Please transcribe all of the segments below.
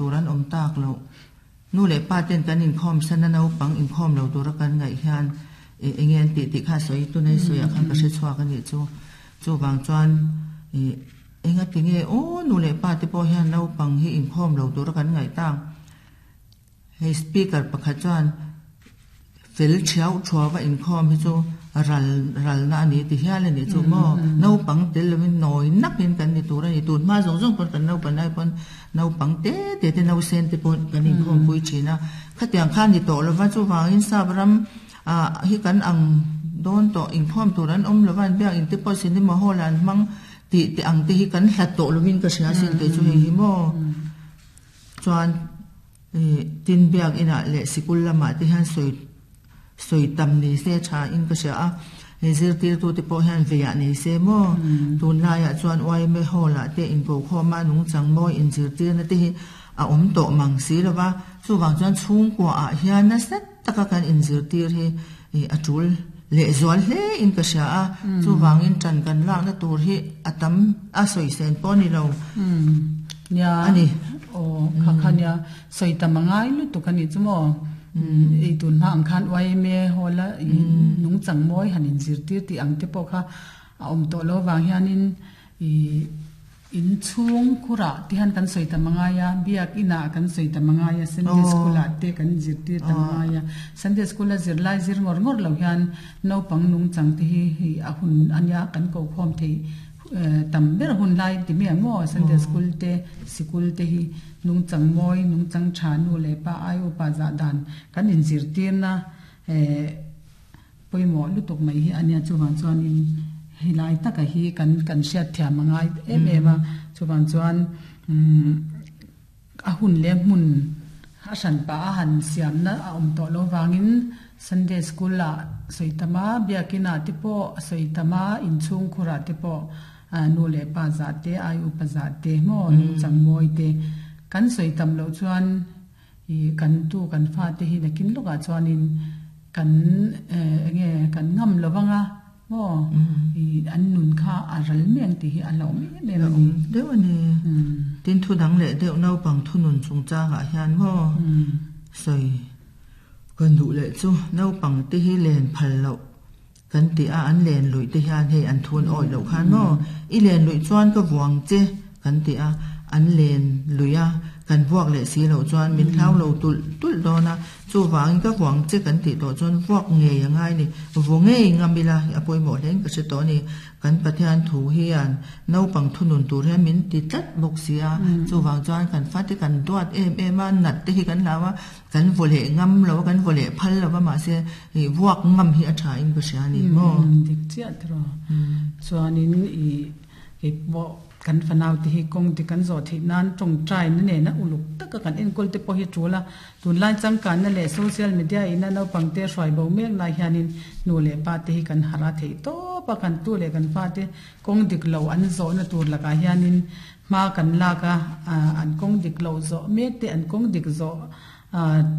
tur an awm tak loh. Nu leh pa ten kan inkhawm san a naupang inkhawm lo tura kan ngaih hian eng nge an tih tih kha sawi tunai sawiah khan ka hre chhuak a nih chu. Chuvang chuan ih engati nge aw nu leh pa te pawh hian naupang hi inkhawm lo tura kan ngaih tak. Hei speaker pakhat chuan fel thiau thuau a inkhawm hi chu ral ralna a ni ti hial a nih chu maw naupang tel lovin nawi nakin kan ni tur a ni tun hma zawng zawng pawn kan naupan lai pawn naupang te te te nausen te pawh kan inkhawm pui thin a khatiang khan ni tawh lova chuvangin sap ram ah hi kan ang dawn tawh inkhawm tur an awm lova an biak in te pawh cinema hall ah an hmang tih te ang te hi kan hlat tawh lovin ka hria sin kei chu hei hi maw chuan. Tin biakinah leh sikul lamah te hian sawi sawi tam ni se tha in ka hria a, hei zirtirtute pawh hian veiah nei se maw? Tunlaiah chuan yma hall ah te inkokhawma nungchang mawi inzirtirna te hi a awm tawh mang si lo va, chuvang chuan chhungkua ah hian nasa taka kan inzirtir hi a tul lehzual hle in ka hria a, chuvangin ṭan kan lakna tur hi a tam a sawisên pawh a ni lo a ni. Aw, kha kha nia, sawi tam a ngai lutuk a nih chu maw? Ei tun hma ang khan yma hall a nungchang mawi han inzirtir tih ang te pawh kha a awm tawh lo vang hianin ih In chhung khurah te hian kan sawi tam a ngai a, biak inah kan sawi tam a ngai a, Sunday school ah te kan zirtir tam a ngai a. Sunday school a zirlai zir ngawr ngawr lo hian naupang nungchang te hi hei a hun a nia kan ko khawm theih tam ber hun lai ti mai ang maw Sunday school te sikul te hi nungchang mawi nungchang tha nu leh pa ai upa zah dan kan inzirtirna Pawimawh lutuk mai hi a nia, chuvang chuanin helai taka hi kan kan hriatthiam a ngai em em a, chuvang chuan umm a hun leh hmun a hran pah a han siamna a awm tawh loh vangin Sunday school ah sawi tam a, biakin ah te pawh a sawi tam a, inchhungkhur ah te pawh nu leh pa zah te, ai upa zah te maw nungchang mawi te kan sawi tam loh chuan Ih kan tu kan fate hi nakin lawkah chuanin kan eng nge kan ngam lo vang a maw ih an nun kha a ral mai ang tih hi a hlauh em em a ni. Deuh a ni. Tin thu dang leh deuh naupang thunun chungchangah hian maw sawi kan duh leh chu naupang te hi len phal loh kan ti a an len luih te hian hei an thun awih loh khan maw i len luih chuan ka vuang che kan ti a an len luih a kan vuak leh si loh chuan min hlau lo tulh tulh dawn a chuvangin ka vuang che kan tih tawh chuan vuak ngei a ngai ni vu ngei ngam ila a pawimawh hle in ka hre tawh a ni kan Pathian thu hian naupang thunun tur hian min ti tlat bawk si a chuvang chuan kan fate kan duat em em a nat te hi kan hlau a Kan vaw leh ngam lo a, kan vaw leh phal lo va, mahse ih vuak ngam hi a tha in ka hria a ni maw? Dik chiah tiraw. Chuanin ih kei pawh kan fanau te hi kawng dik an zawh theih nan tawngtai na nena uluk taka kan enkawl te pawh hi tul a. Tunlai changkanna leh social media ina naupang te hruai bo mek lai hianin nu leh pa te hi kan harh a theih tawp a, kan tu leh kan fa te kawng dik lo an zawhna tur lakah hianin Hma kan lak a, an kawng dik loh zawh mek te, an kawng dik zawh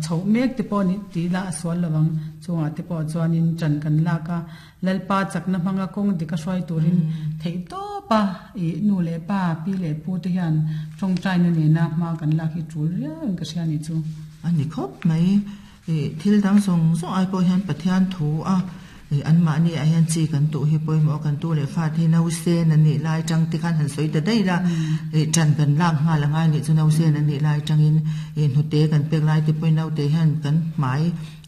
chhoh mek te pawh nih tih lah a sual lo ang. Chungah te pawh chuanin ṭan kan lak a, Lalpa chakna hmanga kawng dik a hruai turin theih tawp a, ih nu leh pa, pi leh pu te hian ṭawngṭaina nena hma kan lak hi ṭul riauin ka hria nih chu. A ni khawp mai. Ih thil dang zawng zawng ai pawh hian Pathian thu a ih anmahni ah hian chi kan tuh hi pawimawh a kan tu leh fate hi nausen an nih lai tang te khan han sawi ta daih la ih tan kan lak nghal a ngai nih chu nausen an nih lai tangin ih hnute kan pek lai te pawhin naute hian kan hmai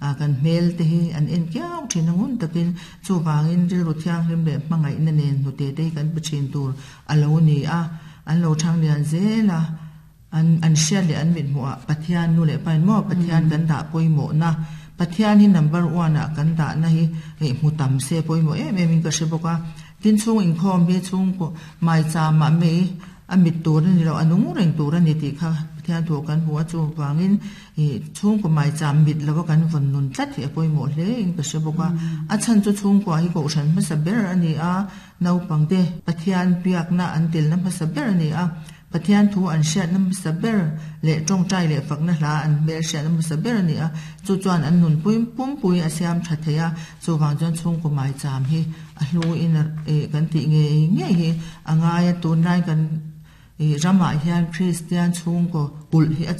ah kan hmel te hi an en kiau thin a ngun takin chuvangin rilru thianghlim leh hmangaihna nen hnute te hi kan pe thin tur a lo ni a an lo thang lian zel a. An an hriat leh an mithmuh ah Pathian nu leh pa in maw Pathian kan dah pawimawhna Pathian hi number one ah kan dahna hi hei hmu tam se pawimawh em em in ka hre bawk a. Tin chhung inkhawm hi chhungkaw maicham ah mei a mit tur a ni lo a nung reng tur a ni tih kha Pathian thu ah kan hmu a chuvangin ih chhungkaw maicham mit lo a kan vawn nun tlat hi a pawimawh hle in ka hre bawk a. A chhan chu chhungkua hi kohhran hmasa ber a ni a naupangte Pathian biakna an telna hmasa ber a ni a. Pathian thu an hriatna hmasa ber leh tawngtai leh fakna hla an hmel hriatna hmasa ber a ni a, chu chuan an nunpui pumpui a siam tha thei a, chuvang chuan chhungkaw maicham hi a hluin kan tih ngei ngei hi a ngai a, tunlai kan ramah hian Kristian chhungkaw kulh hi a.